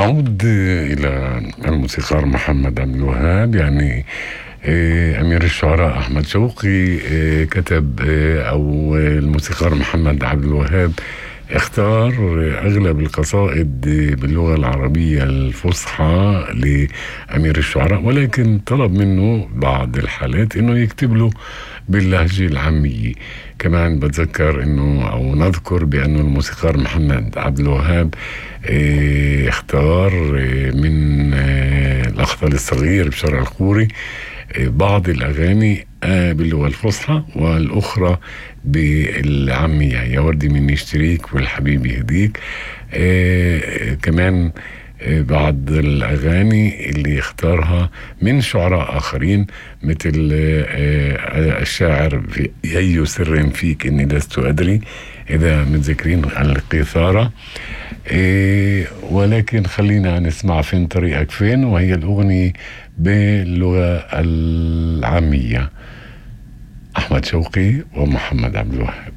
أعود إلى الموسيقار محمد عبد الوهاب. يعني أمير الشعراء أحمد شوقي كتب أو الموسيقار محمد عبد الوهاب اختار أغلب القصائد باللغة العربية الفصحى لأمير الشعراء، ولكن طلب منه بعض الحالات إنه يكتب له باللهجة العامية. كمان بتذكر إنه أو نذكر بأنه الموسيقار محمد عبد الوهاب اختار من الأخطل الصغير بشارع الخوري بعض الأغاني باللغة الفصحى والأخرى بالعامية، يا وردي من يشتريك والحبيب يهديك. كمان بعض الأغاني اللي اختارها من شعراء آخرين مثل الشاعر في أي سر فيك إني لست أدري، إذا متذكرين القيثارة. ولكن خلينا نسمع فين طريقك فين، وهي الأغنية باللغة العامية. أحمد شوقي ومحمد عبد الوهاب.